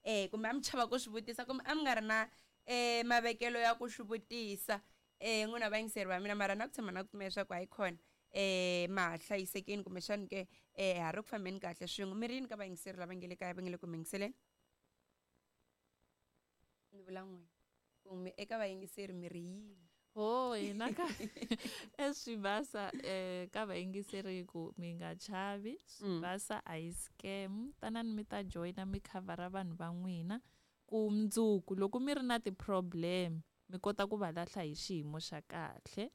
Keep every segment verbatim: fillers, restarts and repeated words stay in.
Eh kumbe a mi chava ku swi vutisa kumbe a mi nga ri na eh mavekelo ya ku swi vutisa eh n'wina vayingiseri va mina, mara na ku tshama na ku pfumela leswaku hayi khona eh ma ha hlayisekini kumbexani ke eh ha ri ku fambeni kahle swin'we. Mi ri yini ka vayingiseri lava nge le kaya va nge le ku mi yingiseleni? Ni vula n'wina kumbe eka vayingiseri mi ri yini? Ho hina ka eswibasa eh ka vayingiseri ku mi nga chavi, swibasa a hi scam, tanani mi ta joyina mi khavhara vanhu va n'wina ku mundzuku loko mi ri na ti-problem mi kota ku va lahla hi xiyimo xa kahle.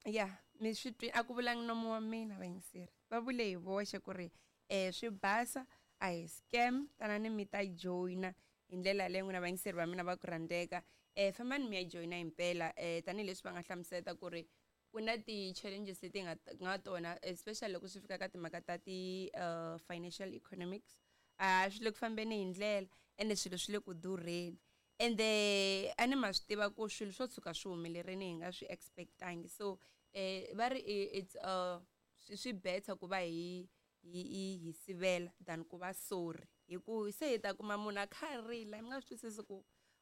Ya mi swi twi a ku vulangi nomu wa mina vayingiseri, va vule hi voxe ku ri eh swi basa a hi scam, tanani mi ta joyina hi ndlela yaleyo n'wina vayingiseri va mina va ku rhandzeka. Eh fambani mi ya joyina himpela eh tanihileswi va nga hlamusela ku ri ku na ti-challenges leti nga nga tona especially loko swi fika ka timhaka ta ti uh, financial economics, a swi le ku fambeni hi ndlela ende swilo swi le ku durheni, ende a ni ma swi tiva ku swilo swo tshuka swi humelerini hi nga swi expectangi. So eh va ri it's uh swi better ku va hi hi hi sivela than ku va sorry, hi ku se hi ta kuma munhu a kha a rila mi nga swi twisisi ku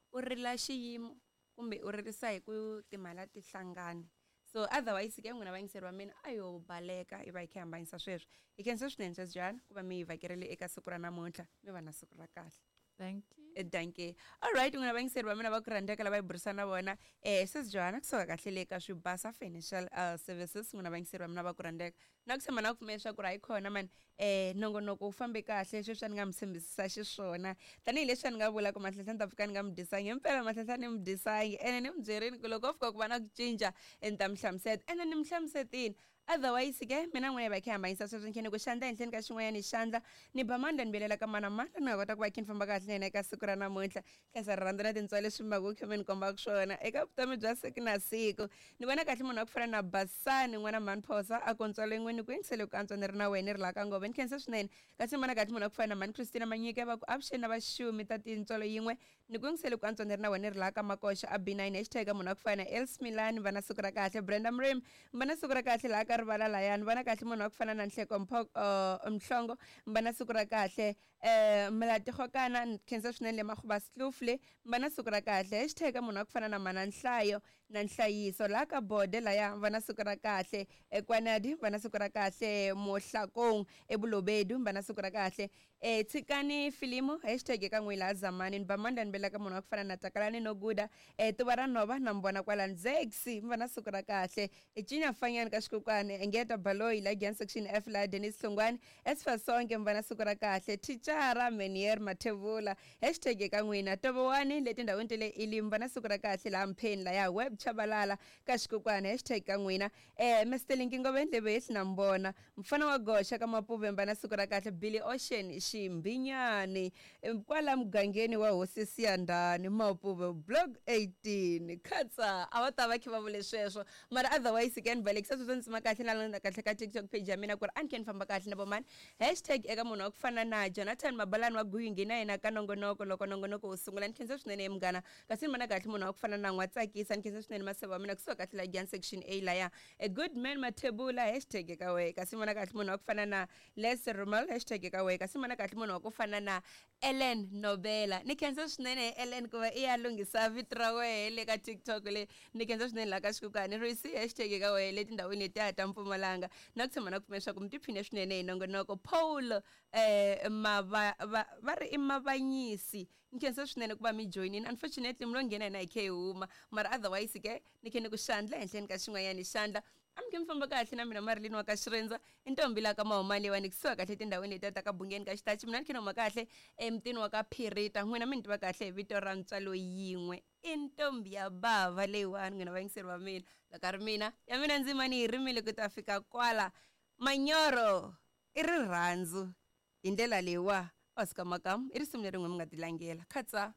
u rila xiyimo kumbe u ririsa hi ku timali a ti hlangani. So otherwise ke n'wina vayingiseri va mina a yo baleka hi va hi kha hi hambanyisa sweswo. Hi khensa swinene sweswi ku va mi hi vhakerile eka siku ra namuntlha, mi va na siku ra kahle. Thank you. Dankie. Alright, n'wina vayingiseri va mina va ku rhandzeka lava hi burisana na vona eh sis Johanna kusuka kahle le ka Swibasa Financial uh, Services. N'wina vayingiseri va mina va ku rhandzeka na ku tshemba na ku pfumela leswaku ri hayi khona mani eh nongonoko wu fambe kahle sweswi a ni nga mi tshembisisa xiswona, tanihileswi a ni nga vula ku Mahlanhla ni ta pfuka ni nga mi dyisangi himpela Mahlanhla ni mi dyisangi, ene ni mi byerini ku loko ko fika ku va na ku cinca ni ta mi hlamuseta, ene ni mi hlamusetini. Otherwise ke mina n'wina hi va hi kha hi hambanyisa sweswo, ni khe ni ku xandla henhleni ka xin'wanyana xandla ni ba mandla ni vuyelela ka mana mandla ni nga kota ku va khe ni famba kahle na yena eka siku ra namuntlha. Khensa rirhandzu na tintswalo leswi mi va ku khe mi ni kombaka swona eka vutomi bya siku na siku. Ni vona kahle munhu wa ku fana na Basani n'wana mhani Phosa a ku ntswalo yin'we ni ku yingisele ku antswa ni ri na wena ni ri laha ka ngove, ni khensa swinene. Kasi ni vona kahle munhu wa ku fana na mhani Christina Manyike va ku avuxeni na vaxumi ta tintswalo yin'we ni ku yingisele ku antswa ni ri na wena ni ri laha ka Makoxa a B nine. Hashtag munhu wa ku fana na Els Milani va na siku ra kahle, Brenda Mrim va na siku ra kahle laha ka rivala layani. Vona kahle munhu wa ku fana na Nhleko Mpho uh, Mhlongo va na siku ra kahle, eh Mlati Gokana ni khensa swinene le Makhuba Kloof le va na siku ra kahle. Hashtag munhu wa ku fana na Mana Nhlayo na Nhlayiso laha ka Bode laya va na siku ra kahle, eKwanadi va na siku ra kahle, Mohlakong eBulobedu va na siku ra kahle, eh tshikani filimu hashtag eka n'wi laha Zamani ni ba mandla ni belaka munhu wa ku fana na Takalani no Guda eh tuva ra nhova na mi vona kwala Ndzexi va na siku ra kahle, Cinya Fanyani ka Xikukwani Engeta Baloyi la Gian section F la Dennis Hlongwane Esfa Sonke mi va na siku ra kahle, Thicara Menier Mathevula hashtag eka n'wina Tovowani le tindhawini ta le Elim va na siku ra kahle laha Mpheni laya Web Chabalala ka Xikukwani hashtag ka n'wina eh Mister Linki Ngoveni levehli na mi vona mfana wa goxa ka Mapuve va na siku ra kahle, Billy Ocean Ximbinyani kwala mugangeni wa Hosi Siyandhani Mapuve block eighteen khatsa a va ta va khe va vule sweswo. Mara otherwise ke ni balekisa sweswo ni tsima kahle na landza kahle ka TikTok page ya mina ku ri a ni khe ni famba kahle na vomani. Hashtag eka munhu wa ku fana na Jonathan Mabalani wa Guyungi na yena ka nongonoko loko nongonoko wu sungula, ni khensa swinene munghana. Kasi ni vona kahle munhu wa ku fana na N'watsakisa, ni khensa swinene maseva wa mina kusuka kahle la Gian section A laya a good man Mathebula hashtag eka wehe. Kasi ni vona kahle munhu wa ku fana na Les Rumal hashtag eka wehe. Kasi ni vona kahle munhu wa ku fana na Ellen Nobela, ni khensa swinene Ellen ku va i ya lunghisa vito ra wehe le ka TikTok le, ni khensa swinene laha ka Xikukwani Risi hashtag eka wehe le tindhawini letiya ta Mpumalanga na ku tshemba na ku pfumela leswaku mi tiphine swinene hi nongonoko. Paul eh mava va, va ri i Mavanyisi, ni khensa swinene ku va mi joyinini, unfortunately mi lo nghena hina hi khe hi huma, mara otherwise ke ni khe ni ku xandla henhleni ka xin'wanyana xandla a mi khe mi famba kahle na mina Marilyn wa ka Xirindza i ntombi laha ka Mahumani leyiwani kusuka kahle etindhawini letiya ta ka Bungeni ka Xitachi, mina ni khe ni huma kahle emutini wa ka Phirita, n'wina mi ni tiva kahle hi vito ra ntswalo yin'we i ntombi ya bava leyiwani. N'wina vayingiseri va mina loko a ri mina ya mina ndzima ni yi rimile ku ta fika kwala manyoro i rirhandzu hi ndlela leyiwa Oscar Makamu i risimu leri n'we mi nga tilangela khatsa.